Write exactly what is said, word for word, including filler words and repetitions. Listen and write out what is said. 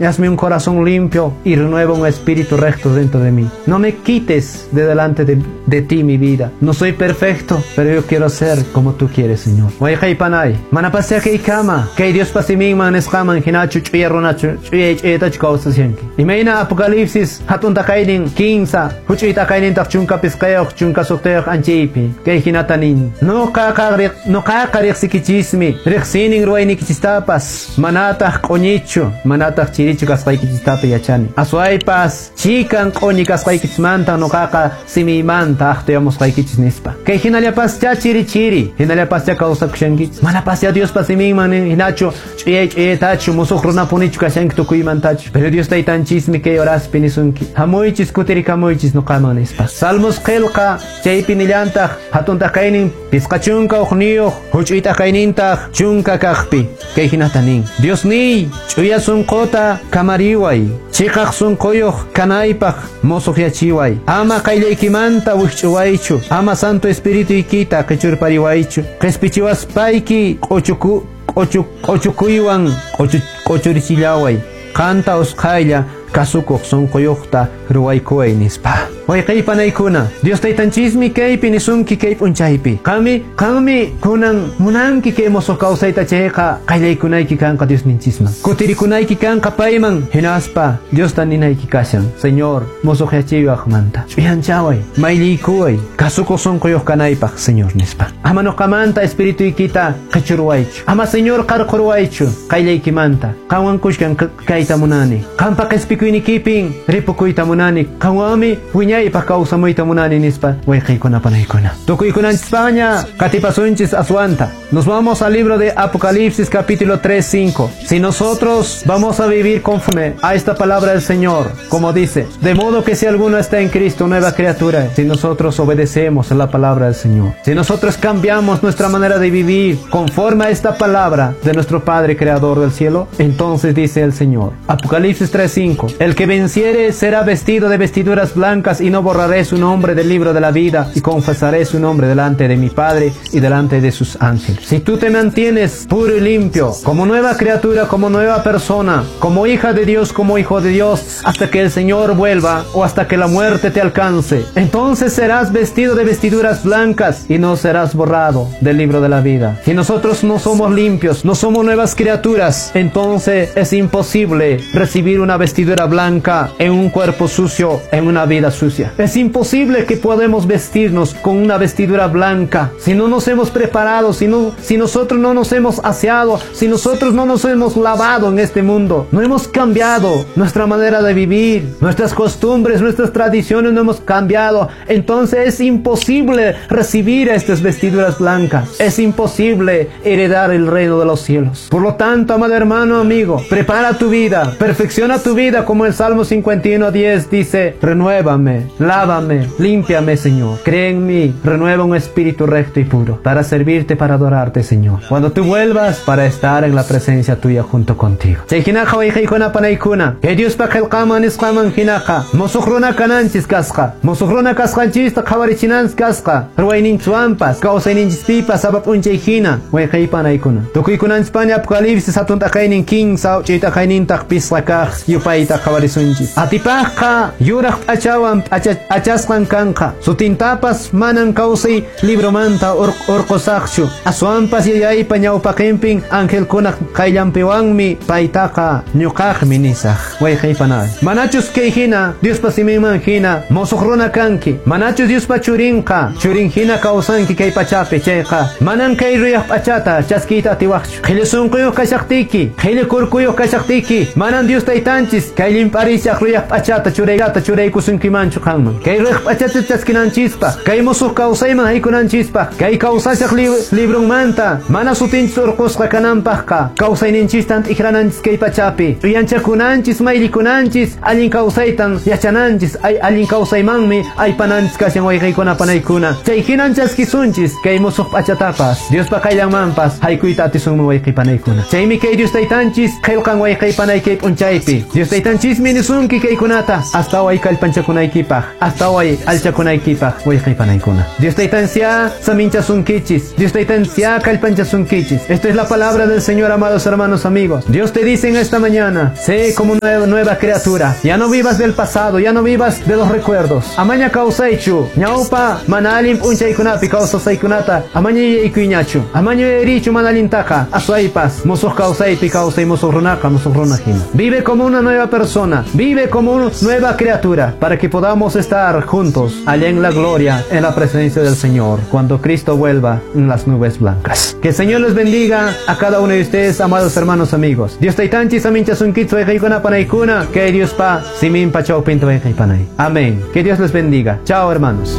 Y hazme un corazón limpio y renueva un espíritu recto dentro de mí. No me quites de delante de, de ti mi vida. No soy perfecto, pero yo quiero ser como tú quieres, Señor. Wayqey panay, manapasya kay kama, kay Diospa siminman nisqaman hinachu ch'uya runachu, ch'uya ch'uyatachu kawsashanki. Imayna Apocalipsis hatun taqaynin kinsa, huch'uy taqaynintaq chunka pisqayuq, chunka suqtayuq anchaypi. Kay hinata nin, nuqaqa nuqaqa riqsikichismi, riqsinin ruwaynikichistapas, manataq q'uñichu, manataq chirichu kasqaykichistapas yachani. Aswaypas chikan q'uñi kasqaykichismanta nuqaqa simiymanta aqtuyamusqaykichis nispa. Kay hinallapascha chiri chiri, hinallapascha kawsakushankichis. Manapascha Diospa siminman hinachu ch'uyay ch'uyaytachu musuq runapunichu kashanki tukuymantachu. Pero Dios taytanchismi kay horaspi nisunki. Hamuychis kutirikamuychis nuqaman nispa. Salmos qillqa chaypi nillantaq hatun taqaynin pisqa chunka uqniyuq huch'uy taqaynintaq chunka kaqpi. Kay hinata nin. Dios niy ch'uya sunquta kamariway, chiqaq sunquyuq kanaypaq musuqyachiway. Ama qayllaykimanta wikch'uwaychu, ama Santo Espirituykita qichurpariwaychu. Qispichiwaspayki q'uchuku q'uchu q'uchukuywan q'uchurichillaway. Qanta usqhaylla kasukuq sunquyuqta ruwaykuway nispa. Wayqey panaykuna, Dios taytanchismi kaypi nisunki kay p'unchaypi. Qanmi qanmi kunan munanki kay musuq kawsayta chayqa qayllaykunayki kanqa Diosninchisman. Kutirikunayki kanqa payman hinaspa Diosta ninayki kashan. Señor, musuqyachiwaqmanta. Ch'uyanchaway, mayliykuway, kasukuq sunquyuq kanaypaq, Señor nispa. Ama nuqamanta espirituykita qichurwaychu. Ama Señor qarqurwaychu qayllaykimanta. Qanwan kushkan kayta munani. Qanpa qhispikuynikipin ripukuyta munani. Qanwanmi wiñaypaq kawsamuyta munani nispa. Wayqiykuna panaykuna. Tukuykunanchispaña qatipasunchis aswanta. Nos vamos al libro de Apocalipsis capítulo tres, cinco. Si nosotros vamos a vivir conforme a esta palabra del Señor, como dice, de modo que si alguno está en Cristo, nueva criatura, si nosotros obedecemos a la palabra del Señor, si nosotros cambiamos nuestra manera de vivir conforme a esta palabra de nuestro Padre Creador del cielo, entonces dice el Señor, Apocalipsis tres, cinco, el que venciere será vestido de vestiduras blancas y no borraré su nombre del libro de la vida y confesaré su nombre delante de mi Padre y delante de sus ángeles. Si tú te mantienes puro y limpio, como nueva criatura, como nueva persona, como hija de Dios, como hijo de Dios, hasta que el Señor vuelva o hasta que la muerte te alcance, entonces serás vestido de vestiduras blancas y no serás borrado del libro de la vida. Si nosotros no somos limpios, no somos nuevas criaturas, entonces es imposible recibir una vestidura blanca en un cuerpo sucio, en una vida sucia. Es imposible que podamos vestirnos con una vestidura blanca si no nos hemos preparado, si no, si nosotros no nos hemos aseado, si nosotros no nos hemos lavado en este mundo, no hemos cambiado nuestra manera de vivir, nuestras costumbres, nuestras tradiciones no hemos cambiado. Entonces es imposible recibir estas vestiduras blancas. Es imposible heredar el reino de los cielos. Por lo tanto, amado hermano, amigo, prepara tu vida, perfecciona tu vida, como el Salmo cincuenta y uno, diez dice: renuévame, lávame, límpiame, Señor. Cree en mí, renueva un espíritu recto y puro para servirte, para adorarte, Señor. Cuando tú vuelvas, para estar en la presencia tuya junto contigo. Que Diospa qillqaman nisqaman hinaqa musuq runa kananchis kasqa, musuq runa kasqanchista qhawarichinanchis kasqa, ruwayninchwanpas kawsayninchispipas sapa p'unchay hina wayqeypanaykuna. Tukuykunanchikpaña Apocalipsis hatun t'aqaynin kinsa uch'uy t'aqaynintaq pisqa kaq yupayta qhawarisunchis. Atipaqqa yuraq p'achawan p'achasqan kanqa, sutintapas manan kawsay libromanta urqusaqchu, aswanpas yayaypa ñawpaqinpin angelkunaq qayllanpiwanmi paytaqa ñuqaqmi nisaq. Wayqeypanay, manachus kay hina Diospa siminman hina musuq runa kanki, manachus Diospa churinqa churin hina kawsanki kay pachapi chayqa, manan kay ruyaq p'achata chaskiyta atiwaqchu. Qhilli sunquyuq kashaqtiyki, qhilli kurkuyuq kashaqtiyki, manan Dios taytanchis kay llimp'arishaq ruyaq p'achata churaykata churaykusunkimanchu qanman. Kay ruyaq p'achata chaskinanchispa, kay musuq kawsayman haykunanchispaq, kay kawsashaq librunmanta mana sutinchis urqusqa kananpaqqa kawsayninchistan t'ikrananchis kay pachapi, ch'uyanchakunanchis, maylikunanchis, allin kawsaytan yachananchis, ay allin kawsaymanmi aypananchis kashan wayqiykuna panaykuna. Chay hinan chaskisunchis kay musuq p'achatapas, Diospa qayllanmanpas haykuyta atisunman wayqipanaykuna. Chaymi kay Dios taytanchis qillqan wayqipanaykay p'unchaypi. Dios taytanchismi nisunki kaykunata hasta way kallpanchakunaykipaq. kanaykipaq, hasta hoy alchakunaykipaq, wayqipanaykuna. Dios taytancia saminchasunkichis, Dios taytancia kallpanchasunkichis. Esta es la palabra del Señor, amados hermanos, amigos. Dios te dice en esta mañana, sé como una nueva criatura. Ya no vivas del pasado, ya no vivas de los recuerdos. Amaña kawsaychu, ñawpa mana allin p'unchaykunapi kawsasaykunata, amaña yuyaykuyñachu, amaña yuyarichu mana allintaqa, aswaypas, musuq kawsaypi kawsay musuq runaqa, musuq runa hina. Vive como una nueva persona, vive como una nueva criatura, para que podamos estar juntos allá en la gloria, en la presencia del Señor, cuando Cristo vuelva en las nubes blancas. Que el Señor les bendiga a cada uno de ustedes, amados hermanos, amigos. Dios taytanchis saminchasunkichis wayqiykuna panaykuna, que Dios pa siminpa chawpinta wayqiypanay. Amén. Que Dios les bendiga. Chao, hermanos.